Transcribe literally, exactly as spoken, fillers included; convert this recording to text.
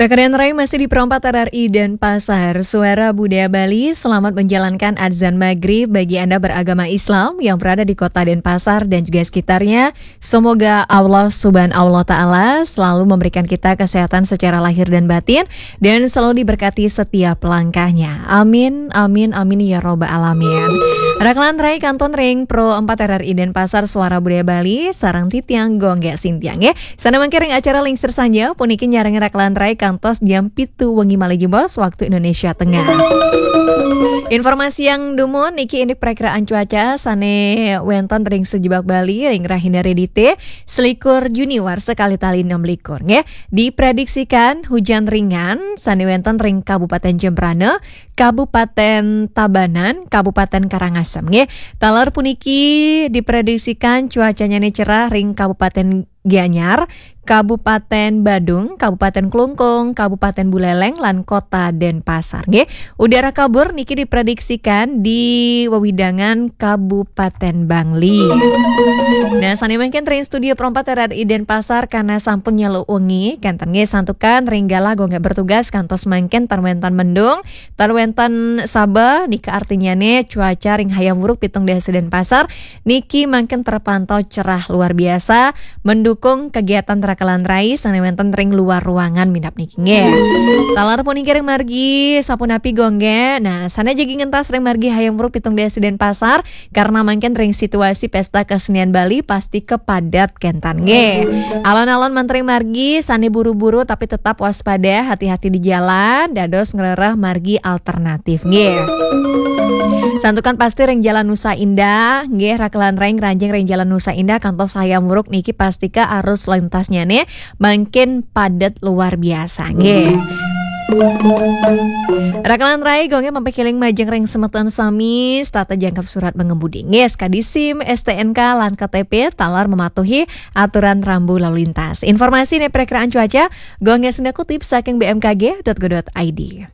Rekan Rai masih di Pro empat R R I Denpasar, Suara Budaya Bali. Selamat menjalankan azan maghrib bagi Anda beragama Islam yang berada di kota Denpasar dan juga sekitarnya. Semoga Allah Subhanahu wa Ta'ala selalu memberikan kita kesehatan secara lahir dan batin dan selalu diberkati setiap langkahnya. Amin, amin, amin ya robbal alamin. Rekan Rai, kantun ring Pro empat R R I Denpasar, Suara Budaya Bali, sareng titiang Gung Gé Sintiang ya. Sané mangkin ring acara Lingsir Sanja, puniki nyarengin rekan Rai kantos jam pitu wengi malih jebos waktu Indonesia Tengah. Informasi yang dumun niki indik perakiraan cuaca sané wénten ring sajebag Bali ring rahina Redité, selikur Juni warsa kalih tali enam likur nggih. Diprediksikan hujan ringan sané wénten ring Kabupaten Jembrana, Kabupaten Tabanan, Kabupaten Karangasem nggih. Taler puniki diprediksikan cuacanya cerah ring Kabupaten Gianyar, Kabupaten Badung, Kabupaten Klungkung, Kabupaten Buleleng, lan Kota Denpasar nggih. Udara kabur niki diprediksikan di wewidangan Kabupaten Bangli. Nah, sané mangkin ring studio Pro empat R R I Denpasar karena sampun nyeluk wengi, kénten nggih santukan ring galah Gung Gé bertugas kantos mangkin tan wénten mendung, tan wénten saba, nika artinyané cuaca ring Hayam Wuruk pitung dasa Denpasar niki mangkin terpantau cerah luar biasa, mendukung kegiatan rekan Rai sané wénten ring luar ruangan minab niki nggih. Taler puniki ring margi sapunapi Gung Gé? Nah, sané jagi ngentas ring margi Hayam Wuruk pitung dasa Denpasar, karena mangkin ring situasi Pesta Kesenian Bali pasti kepadat kénten nggih. Alon-alon manten ring margi sané buru-buru tapi tetap waspada, hati-hati di jalan, dados ngrereh margi alternatif nggih. Santukan pasti ring Jalan Nusa Indah nggih, rekan Rai ngranjing ring Jalan Nusa Indah kantos Hayam Wuruk niki pastika arus lintasnyané mangkin padat luar biasa nggih. Rekan Rai, Gung Gé mapakiring majeng ring semeton sami, setata jangkep surat mengemudi nggih, sakadi SIM, S T N K, lan K T P, taler mematuhi aturan rambu lalu lintas. Informasi né perakiraan cuaca, Gung Gé sida kutip saking B M K G dot go dot I D.